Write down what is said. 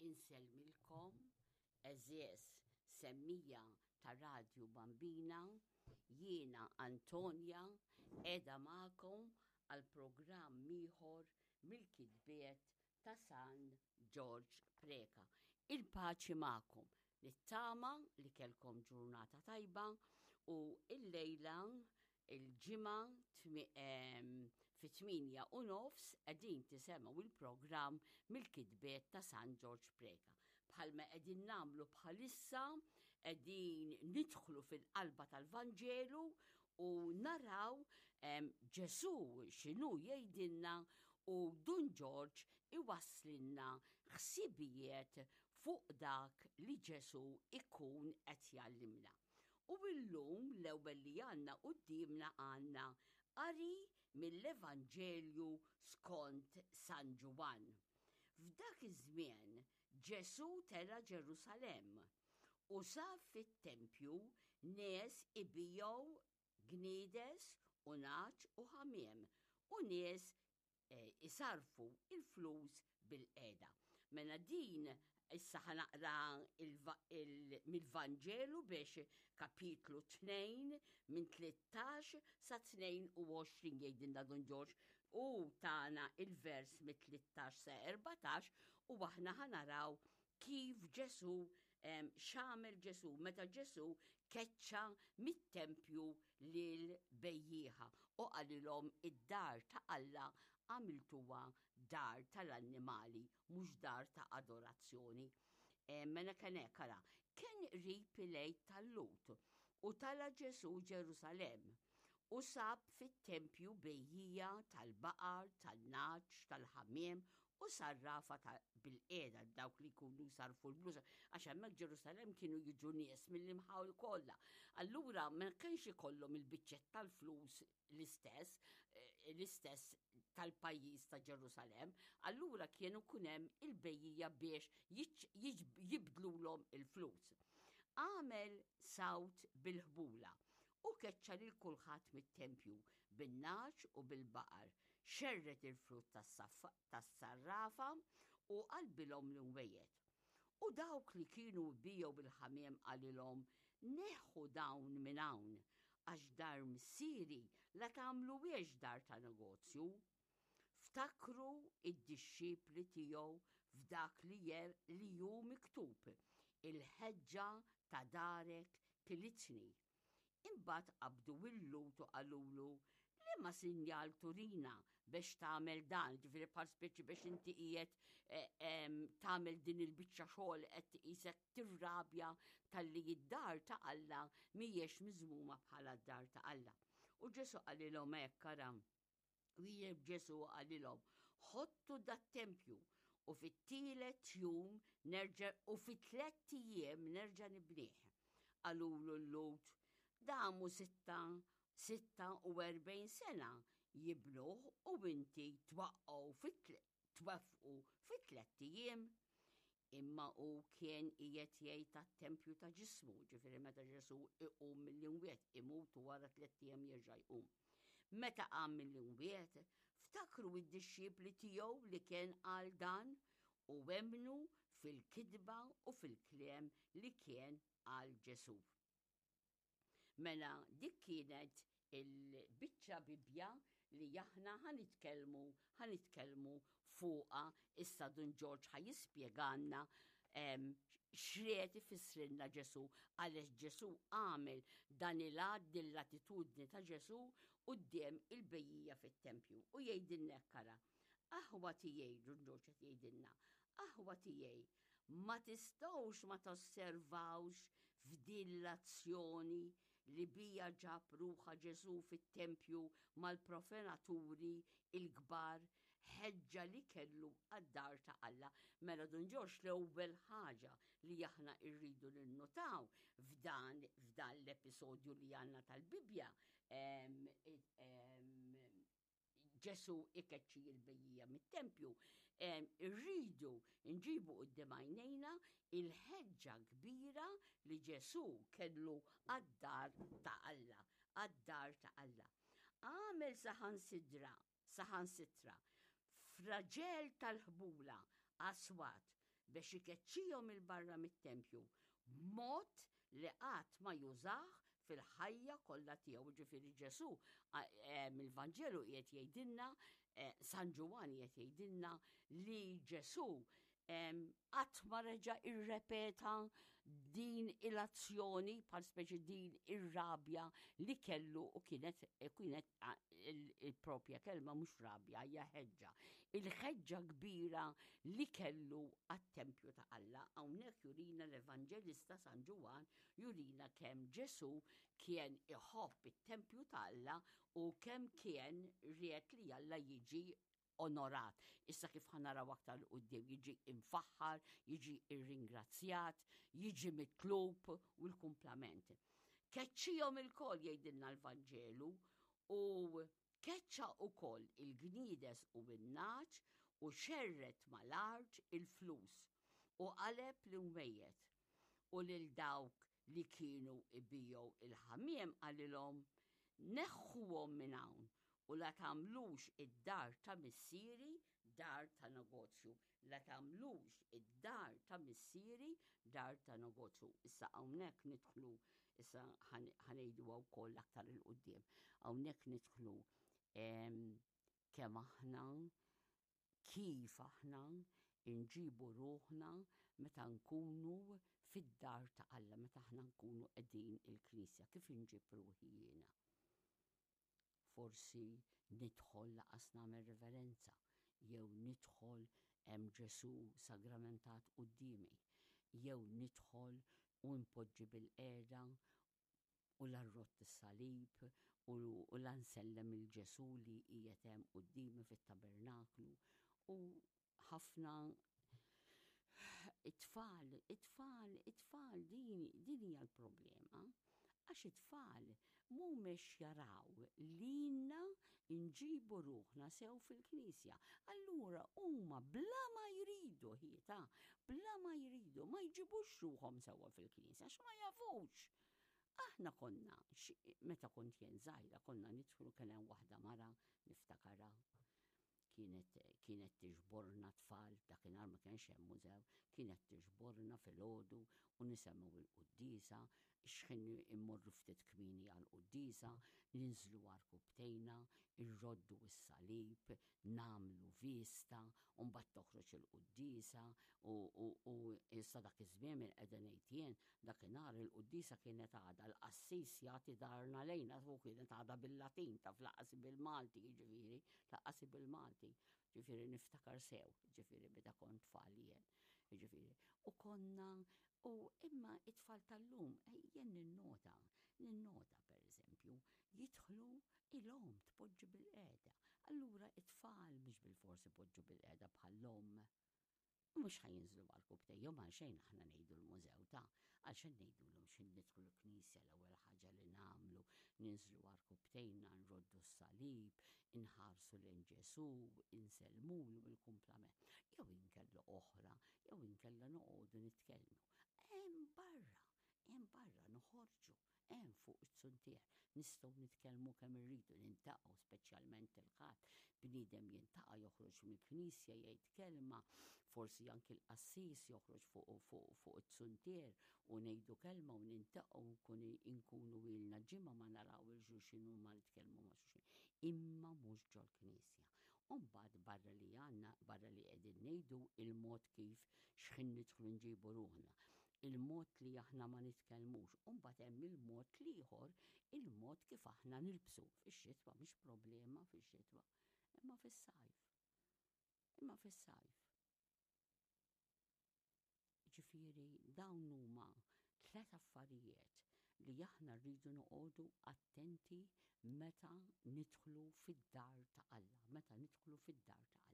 Insellmilkom, għeżież semmija ta' Radju Bambina, jiena Antonia qiegħda magħkom għal programm ieħor mill-kitbiet ta' San Ġorġ Preca. Il-paċi magħkom. Nittama li kellkom ġurnata tajba u illejla il-ġimgħa fit-8 u nofs qegħdin tisemgħu il-programm mill-kitbiet ta' San Ġorġ Preca. Bħalma qegħdin nagħmlu bħalissa qegħdin nidħlu fil-qalba tal-Vanġelu u naraw Ġesù x'inhu jgħidilna u Dun Ġorġ iwasslinna ħsibijiet fuq dak li Ġesù ikun qed jgħallimna. U illum l-ewwel li għandna quddiemna għandna qari mill-Evanġelju skont San Ġwann. F'dak iż-żmien Ġesù tela' Ġerusalemm u sab fit-tempju nies ibigħu gniedes u nagħaġ u ħamiem u nies isarrfu l-flus bilqiegħda. Mela din issa ħa naqra mill-Vanġelu biex kapitlu 2 minn 13 sa 22 jgħidilna Dun Ġorġ u tana il-vers mit-13 sa 14 u aħna ħa naraw kif Ġesù x'għamel Ġesù meta Ġesù keċċa mit-tempju lil bejjieħa u qalilhom id-dar ta' Alla għamiltuha dar tal-annimali mhux dar ta' adorazzjoni. Mela kien hekk ara, kien qrib il-Għid tal-Lhud u tala' Ġesù Ġerusalemm u sab fit-tempju bejjiegħa tal-baqar, tan-nagħaġ, tal-ħamiem u sarrafa ta' bilqiegħda dawk li jkunu jsarrfu l-flus għax hemmhekk Ġerusalemm kienu jiġu nies mill-imħawi kollha. Allura ma kienx ikollhom il-biċċett tal-flus l-istess, eh, l-istess tal-pajjiż ta' Ġerusalemm, allura kienu kun hemm il-bejjija biex jibdlulhom il-flus. Għamel sawt bil-ħbula u keċċa lil kulħadd mit-tempju bin-nagħaġ u bil-baqar, xerred il-frott tas-sarrafa u qalbilhom l-imwejjed. U dawk li kienu jbigħu bil-ħamiem qalilhom, Neħħu dawn minn hawn, għax dar Missieri la tagħmluhiex dar ta' negozju. Ftakru d-dixxipli tiegħu f'dak li li hu miktub, Il-ħeġġa ta' darek kilitni. Imbagħad qabdu l-Lhud u qalulu, Liema sinjal turina biex tagħmel dan, ġifieri bħal speċi biex inti qiegħed eh, tagħmel din il-biċċa xogħol qed tqisek tirrabja talli id-dar ta' Alla mhijiex miżmuma bħala d-dar ta' Alla. U Ġesu qalilhom hekk ara, Wieġeb Ġesù u qalilhom, Ħottu dat-tempju u fit-tielet jum nerġa' u fi tlett ijiem nerġa' nibnih. Qalulu l-Lhud, Damu 46 sena jibnuh u inti twaqqgħu tweffqu fi tlett ijiem. Imma hu kien qiegħed jgħid tat-tempju ta' ġismu, ġifieri meta Ġesù iqum mill-imwiet, imut u wara tlett ijiem jerġa' jqum. Meta qam mill-imwiet, ftakru d-dixxipli tiegħu li kien qal dan u emmnu fil-kitba u fil-kliem li kien qal Ġesù. Mela dik kienet il-biċċa Bibbja li aħna ħa nitkellmu ħa nitkellmu fuqha issa Dun Ġorġ ħa jispjegalna x'ried ifissrilna Ġesù għaliex Ġesù għamel dan il-għadd din l-attitudni ta' Ġesù quddiem il-bejjija fit-tempju. U jgħidilna hekk ara, aħwa tiegħi, Dun Ġorġ qed jgħidilna, aħwa tiegħi, Ma tistgħux ma tosservawx f'din l-azzjoni li bija ġab ruħha Ġesù fit-tempju mal-profenaturi l-kbar ħeġġa li kellu għad-dar ta' Alla. Mela Dun Ġorġ l-ewwel ħaġa li aħna rridu ninnutaw f'dan f'dan l-episodju li għandna tal-Bibbja Ġesù ikeċċi l-bejjija mit-tempju, irridu nġibu quddiem għajnejna il-ħeġġa kbira li Ġesù kellu għad-dar ta' Alla, għad-dar ta' Alla. Għamel saħansidra, saħansitra, fraġel tal-ħbula, aswat, Biex ikeċċihom 'il barra mit-tempju b'mod li qatt ma jużah fil-ħajja kollha tiegħu. Jiġifieri Ġesù mill-Vanġelu qiegħed jgħidilna, San Ġwann qiegħed jgħidilna li Ġesù qatt ma reġa' irrepeta din il-azzjoni bħal speċi din ir-rabja li kellu u kienet kienet il-propja kelma mhux rabja hija ħeġġa. Il-ħeġġa kbira li kellu għat-tempju ta' Alla hawnhekk jurina l-Evanġelista San Ġwann jurina kemm Ġesù kien iħobb it-tempju ta' Alla u kemm kien ried li Alla jiġi onorat. Issa kif ħa naraw aktar 'l quddiem jiġi imfaħħar, jiġi irringrazzjat, jiġi mitlub u l-kumplament. Keċċihom ilkoll jgħidilna l-Vanġelu u keċċa ukoll il-gniedes u n-nagħaġ u xerred mal-art il-flus u qaleb l-imwejjed u lil dawk li kienu jbigħu il-ħamiem qalilhom, Neħħuhom minn hawn u la tagħmlux id-dar ta' missieri dar ta' negozju. La tagħmlux id-dar ta' missieri dar ta' negozju. Issa hawnhekk nidħlu, issa ħa ngħiduha wkoll aktar 'il quddiem. Hawnhekk nidħlu kemm aħna kif aħna nġibu ruħna meta nkunu fid-dar ta' Alla, meta aħna nkunu qegħdin il-knisja, kif inġib ruħi jiena? Forsi nidħol laqas nagħmel reverenza, jew nidħol hemm Ġesù sagramentat quddiemi, jew nidħol u npoġġi bilqiegħda u la rrodd is-salib u la nsellem 'il Ġesù li qiegħed hemm quddiemi fit-tabernaklu u ħafna it-tfal, it-tfal, it-tfal din din hija l-problema. Għax it-tfal mhumiex jaraw lilna nġibu ruħna sew fil-knisja. Allura huma bla ma jridu ħieta, bla ma jridu ma jġibux ruħhom sewwa fil-knisja għax ma jafux. Aħna konna, meta kont jien żgħira, konna nidħlu kien hemm waħda mara niftakarha kienet kienet tiġborna tfal, dakinhar ma kienx hemm mużew, kienet tiġborna filgħodu u nisemgħu l-quddiesa, x'ħin immorru ftit kmieni għall-quddiesa, ninżlu għarkupptejna, irroddu s-salib, nagħmlu vista, u mbagħad toħroġ il-quddiesa u u u issa dak iż-żmien minn qiegħda ngħid jien, dakinhar il-quddiesa kienet għadha l-qassis jagħti darna lejna u kienet għadha bil-Latin taf lanqas bil-Malti jiġifieri, lanqas bil-Malti. Ġifieri niftakar sew, ġifieri meta kont tfal jien. Jiġifieri. U konna u imma it-tfal tal-lum, jien ninnota, ninnota pereżempju, jidħlu il-omm tpoġġi bilqiegħda. Allura it-tfal mhux bilfors ipoġġu bilqiegħda bħall-omm. Mhux ħa jinżlu għall-kubtejhom għalxejn aħna ngħidu l-mużew ta' għalxejn ngħidulhom x'ħin nidħlu l-knisja l-ewwel ħaġa li nagħmlu ninżlu għarkupptejna nroddu s-salib, inħarsu lejn Ġesù, insellmulu bil-kumplament. Jew inkella oħra, jew inkella noqogħdu nitkellmu. Hemm barra, hemm barra noħorġu Hemm fuq iz-zuntier nistgħu nitkellmu kemm irridu, niltaqgħu speċjalment il-Ħadd, bniedem jiltaqa' joħroġ mill-knisja jgħid kelma, forsi anki l-qassis joħroġ fuq fuq fuq iz-zuntier u ngħidu kelma u niltaqgħu nkun inkunu ilna ġimgħa ma naraw 'il xulxin u ma nitkellmu ma' xulxin. Imma mhux ġol-knisja. U mbagħad barra li għandna, barra li qegħdin ngħidu il-mod kif x'ħin nidħlu nġibu ruħna. il-mod li aħna ma nitkellmux, u mbagħad hemm il-mod l-ieħor, il-mod kif aħna nilbsu. Fix-xitwa mhix problema fix-xitwa, imma fis-sajf. Imma fis-sajf. Ġifieri dawn huma tlet affarijiet li aħna rridu noqogħdu attenti meta nidħlu fid-dar ta' Alla, meta nidħlu fid-dar ta' Alla.